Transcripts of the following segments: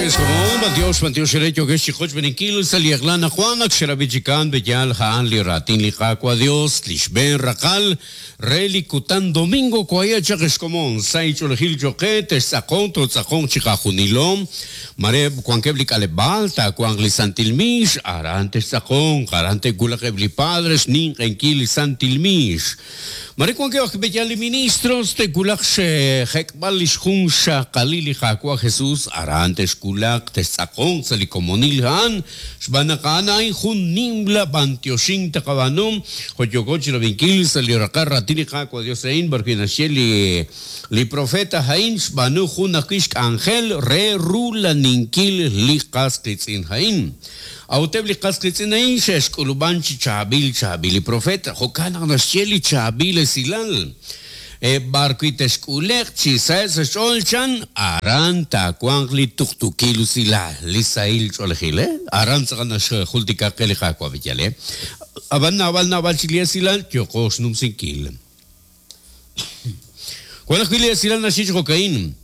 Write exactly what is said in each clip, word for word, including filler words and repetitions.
Dios, Dios, Dios, Dios, Beninkil, Saliaglana, Juana, Xerabichikan, Beyal, Haan, Liratin, Liqaqua, Dios, Lishben, Rakal, Reli, Kutan, Domingo, Cuaya, Chajescomón, Saicho, Gil, Joquete, Sacón, Tozacón, Chicajunilón, Mare, Juanquebli, Calebalta, Juan Santilmish, Arante, Sacón, Arante, Gulakebli, Padres, Nin, Enquil, Santilmish. Mare, Juanquebli, Beyal, Ministros, Te Gulak, Jekbal, Lishjun, Shakalili, Jacua, Jesús, Arante, Kulak, Tesacón, Salicomonil, Han, Shbanakana, Jun, Nimbla, Bantioshin, Tacabanum, Joyocochi, Rabinkil, Saliracarra, Tilijaco, Dios, Ein, Barquinacheli, Li Profeta, Jain, Shbanu, Junakishk, Ángel, Re, Rula, Ninkil, Likas, Klitzin, Jain. Autebli Kasklitzin, Shesh, Kulubanchi, Chabil, Chabili, Profeta, Jocana, Nasheli, Chabil, Silal. Barquitesculec, Chisas, Cholchan, Aranta, Cuangli, Tuktukilusila, Lisail, Cholgile, Aranza, Jultica, Kelijakua, Villale, Abana, Abana, Balchiliasilal, Yokos, Numsinkil. Cuando Julia Silal Nashich Cocaín,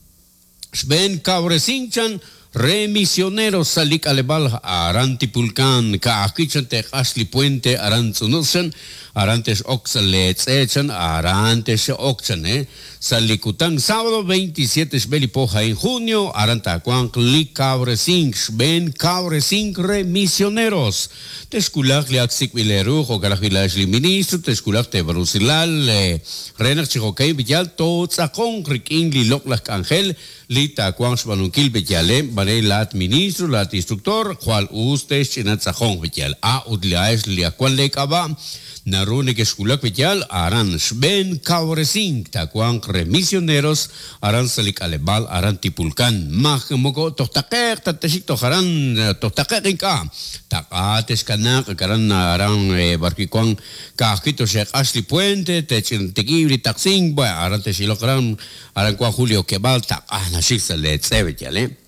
Sven Cabresinchan, Re misionero Salik Alebal, Arantipulcan, Kaakichan, Ashley Puente, Arantzunusan, Arantes Oxaletz, Arantes Oxan, eh, Salicután, sábado veintisiete, Belipoja en junio, Arantacuan, Li Cabresink, Ben Cabresink, Re misioneros, Tesculak, Liaxic Vileru, Jocarajilash, Ministro, Tesculak, Tebrusilal, Renak Chijokay, Villal, Tozacón, Riquín, Liloclas Ángel, Lita, Cuan, Sbanukil, Villale, Lat ministro, lat instructor, Juan Ustes, Chinatzajón, Villal, A, Udliaes, Liacuan Lekaba, Narune que Esculak Villal, Aran, Sben, Cabresink, Tacuan, Remisioneros, Aran Salik Alebal, Aran Tipulcan, Maj, Moco, Tostaquer, Tateshito, Jaran, Tostaquer, Inca, Tacates, Canac, Caran, Aran, Barquicuan, Cajito, Sheikh Ashley Puente, Techin, Tequibri, Taxing, Aran Techilocran, Aran Cuan Julio Quebal, Tacana, Xixale, Tsebechale.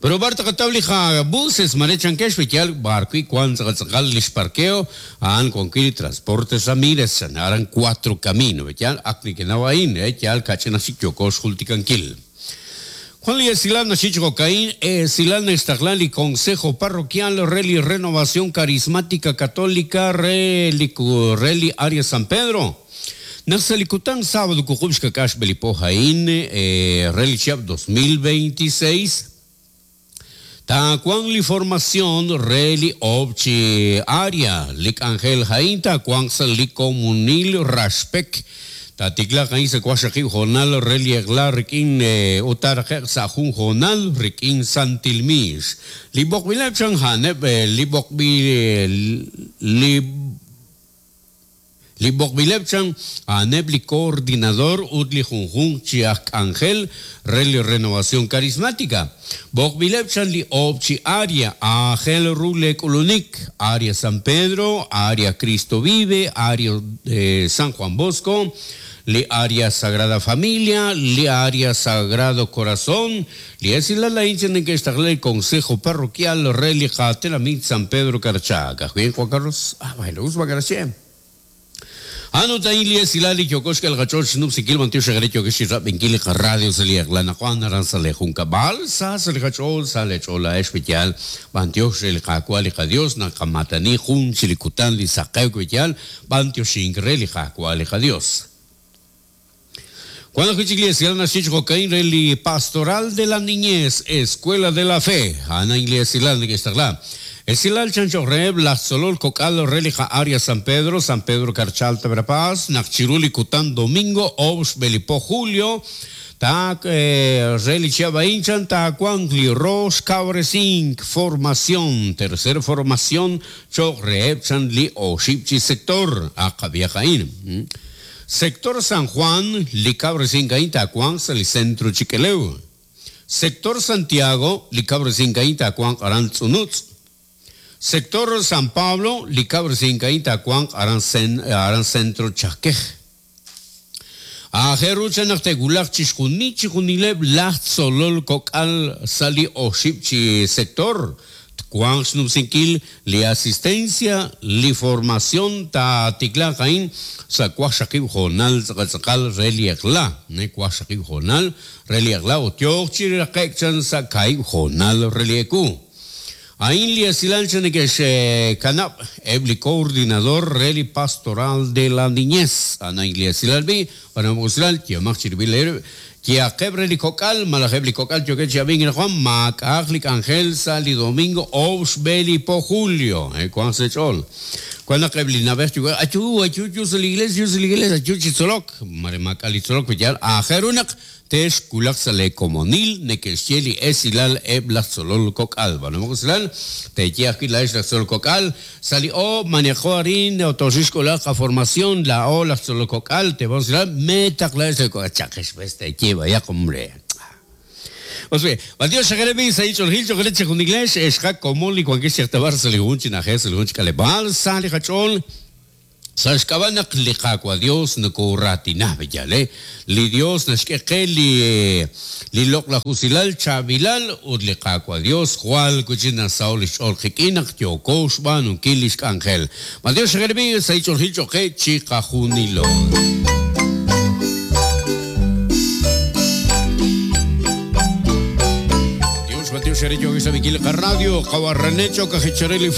Pero Barta Catablija buses marechan quechvial barco y cuanzagal parqueo an conquiri transportes Ramírez aran cuatro camino betial aknikenavain etial cachenasikyokos julticanquil. Juan Silán Nachicho Caín, Silán Estaglali, Consejo Parroquial, Reli Renovación Carismática Católica, Reli, Reli Área San Pedro. Naxalicután, sábado, Cucubishka Cash Belipojaín, Reli Chiap dos mil veintiséis. Tacuan li formación reli obchi área lik Ángel Jaín tacuan li comunil raspek tatikla jaín se cuashaki jonal reli egla rikin utar sajun jonal rikin santilmish li bokbilep chan haneb li bokbi li Li Bokbilepchan, anebli coordinador utli junjun chiak Ángel, reli renovación carismática. Bokbilepchan li obchi aria, Ángel Rule Kulunik, aria San Pedro, aria Cristo Vive, aria eh, San Juan Bosco, li aria Sagrada Familia, li aria Sagrado Corazón, li es la la hincha en que está el Consejo Parroquial Reli Jatelamit San Pedro Carchaca. Bien, Juan Carlos, ah, bueno, us va gracias. Anota Ilia Silali Yokoshka el Gachol Snoop Sikil Mantiu Shagarecho que Shirap Benkili Radio Salia Glana Juan Aranzale Junca Bal Sas el Gachol Sale Chola Especial Bantio el Jacual Dios Nakamatani Jun Chilikutan Lisaquecuial Bantio Shingreli Jacual Dios. Cuando Iglesia Reli Pastoral de la Niñez, Escuela de la Fe, Ana Iglesia que está la. El Silal Chancho Reb, la Solol Cocal, Relija Aria San Pedro, San Pedro Carchal Tabrapaz, Nachiruli Cután Domingo, Obs Belipo Julio, Tak Reli Chiabaínchan, Tacuangli Ros Cabresink, formación, tercera formación, Chogreb Chanli Oshipchi Sector, Acabiajaín. Sector San Juan, Licabresincaín, Tacuán, Centro Chiqueleu. Sector Santiago, Licabresincaín, Tacuán, Arantzunutz. Sector San Pablo, Licabresincaín, Tacuán, Aran Centro Chaquej. Ajerucha Nachtegulach, Chishjuni, Chijunileb, Lach, Solol, Cocal, Sali, Oshipchi, Sector. Juan xnumsinkil li asistencia li formación ta tiklaq ain sa waqxaqib' hoonal tz'aqal re li eq'la ne waqxaqib' hoonal re li eq'la ut yooq chi raqe'k chan sa kaahib' hoonal re li eku. Ain li esilal chan neke'x kanab' eb' li coordinador re li pastoral de la niñez anain li esilal bi b'anam usilal yemaq chirib'il eerib' Yaqeb' re li kok'al malaj eb' li kok'al yookeb' chi ab'ink Juan maak'a'aq li k'anjel sa' li domingo oob' xb'e li po julio eh wanq sa' ch'ool wan naq eb' li na'b'ej yuwa'b'ej ayu ayu yu sa' li iglesia yu sa' li iglesia ayu chi tzolok mare maak'a' li tzolok yal aajel ru naq te'xwulaq sa' le komonil neke'xye li esilal eb' laj tzolol kok'al b'anam usilal teeye ajwi' laa'ex laj tzolol kok'al sa' li oob' manejo arin otoxixk'ulaq qaformación laa'o laj tzolol kok'al te usilal metaq laa'ex laj kok'al chaqex b'es teeye vaya hombre. Osbe, Mateo Shagaremi, Saicho Gil, Chocolate, Juniglesh, Eshka, Komol, y Juan Tabar, Salihun, Chinaje, Salihun, Chikalebal, Sali Hachol. Sa xk'ab'a' li Qaawa' Dios nokoratina b'eyal, li Dios naxk'e qe li li loq'laj usilal chaab'ilal ut li Qaawa' Dios jwal kuchi nasaho' li xch'ool qik'in naq yooko xb'aanunkil li xk'anjel. Mateo Shagaremi, Saicho Gil, Choque, Chikajunilo. Mateo Xerecho, Radio, Kawarranecho, Cajicharelli.